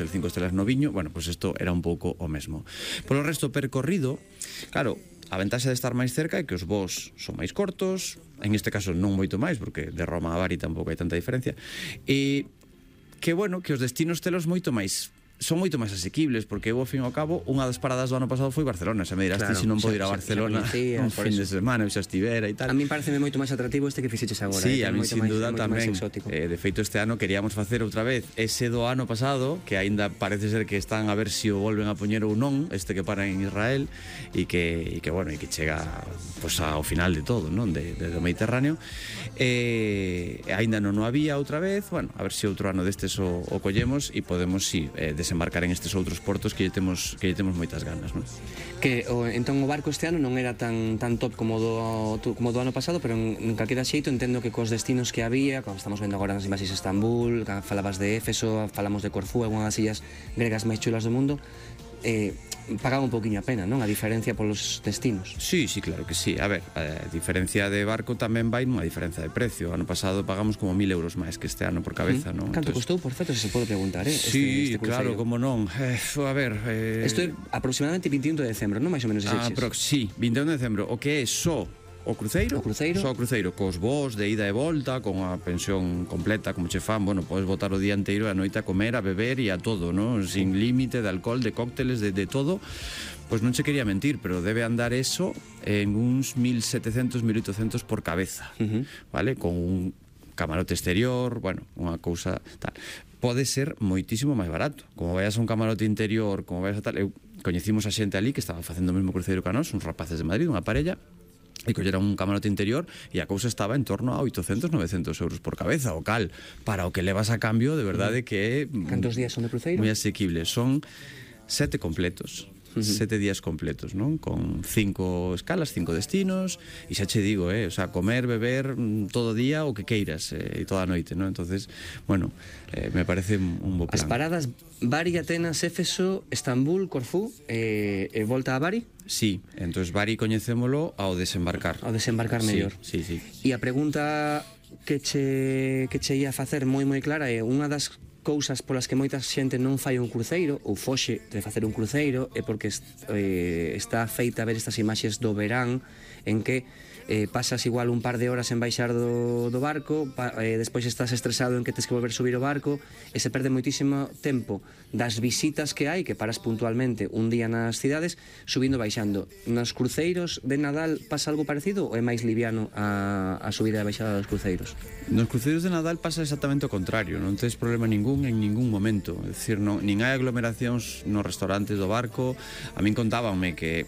hotel 5 estrellas no Viño, bueno, pois isto era un pouco o mesmo. Polo resto percorrido, claro, a ventaxa de estar máis cerca é que os voos son máis cortos, en este caso non moito máis, porque de Roma a Bari tampouco hai tanta diferencia, e que, bueno, que os destinos telos moito máis son moito máis asequibles, porque eu, ao fin e ao cabo, unha das paradas do ano pasado foi Barcelona. Se me dirás ti se non podo ir a Barcelona un fin de semana, eu xa estivera e tal. A mí pareceme moito máis atractivo este que fixeches agora. Sí, a mí sin duda tamén. De feito, este ano queríamos facer outra vez ese do ano pasado, que aínda parece ser que están a ver se o volven a poñer ou non, este que para en Israel, e que bueno, e que chega pues, ao final de todo, non? Do Mediterráneo. Aínda non o había outra vez, bueno, a ver se outro ano destes o collemos e podemos, sí, desembarcar en estes outros portos que lle temos moitas ganas, non? Que entón o barco este ano non era tan top como do ano pasado, pero en calquera xeito entendo que cos destinos que había, como estamos vendo agora nas imaxes de Estambul, falabas de Éfeso, falamos de Corfú, unha das illas gregas máis chulas do mundo, pagaba un poquinho a pena, non? A diferencia polos destinos. Sí, sí, claro que sí. A ver, a diferencia de barco tamén vai nunha diferencia de precio. O ano pasado pagamos como 1.000 euros máis que este ano por cabeza, non? Canto costou, por certo, se pode preguntar, Sí, claro, como non. A ver... Isto é aproximadamente 21 de decembro, non? Mais ou menos ese sí, 21 de decembro. O que é só o cruceiro, só o cruceiro, cos voos de ida e volta, con a pensión completa, como che fan, bueno, podes botar o día inteiro e a noite a comer, a beber e a todo, non? Sin límite de alcohol, de cócteles, de todo. Pois non che quería mentir, pero debe andar eso en uns 1.700, 1.800 por cabeza, vale? Con un camarote exterior, bueno, unha cousa tal. Pode ser moitísimo máis barato. Como vayas a un camarote interior, como vayas a tal... Eu coñecimos a xente ali que estaba facendo o mesmo cruceiro que a nós, uns rapaces de Madrid, unha parella, e collera un camarote interior e a cousa estaba en torno a 800, 900 euros por cabeza, o cal, para o que levas a cambio, de verdade que é... Cantos días son de cruceiro? Moi asequible, son 7 completos. 7 días completos, non? Con 5 escalas, 5 destinos, e xa che digo, o sea, comer, beber todo día o que queiras, e toda a noite, non? Entonces, bueno, me parece un bo plan. As paradas Bari, Atenas, Éfeso, Estambul, Corfú e volta a Bari? Sí, entonces Bari coñecémolo ao desembarcar. Ao desembarcar mellor. Sí, sí. E a pregunta que che ia facer moi clara é unha das cousas polas que moita xente non fai un cruceiro ou foxe de facer un cruceiro é porque está feita a ver estas imaxes do verán en que pasas igual un par de horas en baixar do barco, despois estás estresado en que tens que volver subir o barco e se perde moitísimo tempo das visitas que hai, que paras puntualmente un día nas cidades, subindo e baixando. Nos cruceiros de Nadal pasa algo parecido ou é máis liviano a subida e a baixada dos cruceiros? Nos cruceiros de Nadal pasa exactamente o contrario, non tens problema ningún en ningún momento, é dicir, nin hai aglomeracións nos restaurantes do barco. A min contábanme que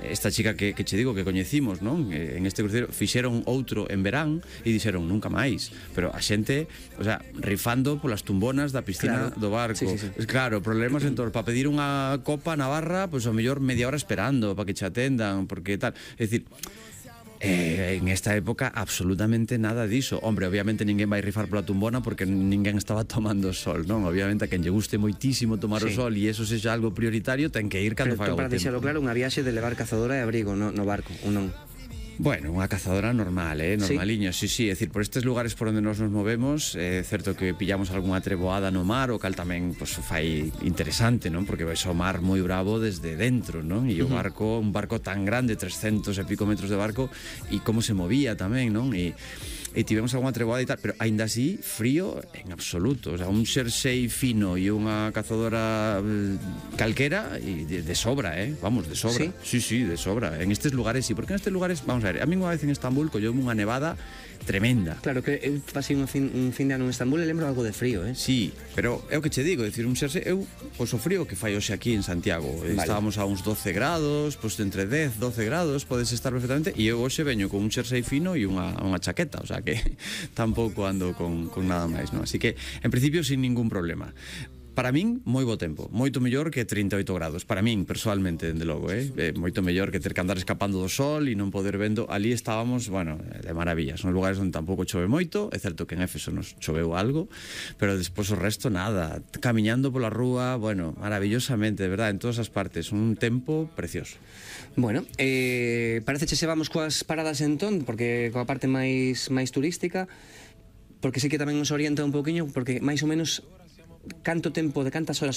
esta chica que che digo que coñecimos, non? En este cruceiro fixeron outro en verán e dixeron nunca máis, pero a xente, o sea, rifando polas tumbonas da piscina do barco. Claro, problemas en torno, para pedir unha copa na barra, pois ao mellor media hora esperando para que che atendan, porque tal, é dicir, en esta época absolutamente nada diso. Hombre, obviamente ninguén vai rifar pola tumbona porque ninguén estaba tomando sol, non? Obviamente a quen lle guste moitísimo tomar o sol e eso sexa algo prioritario, ten que ir cando faga o tempo. Pero para deixalo claro, unha viaxe de levar cazadora e abrigo no barco, ou non? Bueno, unha cazadora normal, normaliña, sí, é dicir, por estes lugares por onde nos movemos, é certo que pillamos algunha treboada no mar, o cal tamén pues, fai interesante, non? Porque vais ao mar moi bravo desde dentro, non? E o barco, un barco tan grande, 300 e pico metros de barco, e como se movía tamén, non? E tivemos algunha treboada e tal, pero aínda así frío en absoluto, o sea, un xersei fino e unha cazadora calquera e de sobra, vamos, de sobra. Sí, de sobra. En estes lugares sí, porque en estes lugares, vamos a ver, a mí unha vez en Estambul colleume unha nevada tremenda. Claro, que eu pasei un fin de ano en Estambul e lembro algo de frío, Sí, pero é o que che digo, decir, un xersei, eu, pois o frío que fai hoxe aquí en Santiago, estábamos a uns 12 grados, pois entre 10, 12 grados, podes estar perfectamente, e eu hoxe veño con un xersei fino e unha chaqueta, o sea que tampouco ando con nada máis, non? Así que, en principio, sin ningún problema. Para min, moi bo tempo, moito mellor que 38 grados, para min, persoalmente, dende logo, moito mellor que ter que andar escapando do sol e non poder vendo. Ali estábamos, bueno, de maravillas, nos lugares onde tampouco chove moito, é certo que en Éfeso nos choveu algo, pero despois o resto nada, camiñando pola rúa, bueno, maravillosamente, de verdade, en todas as partes, un tempo precioso. Bueno, parece que se vamos coas paradas entón, porque coa parte máis turística, porque sí que tamén nos orienta un poquinho, porque máis ou menos canto tempo, de cantas horas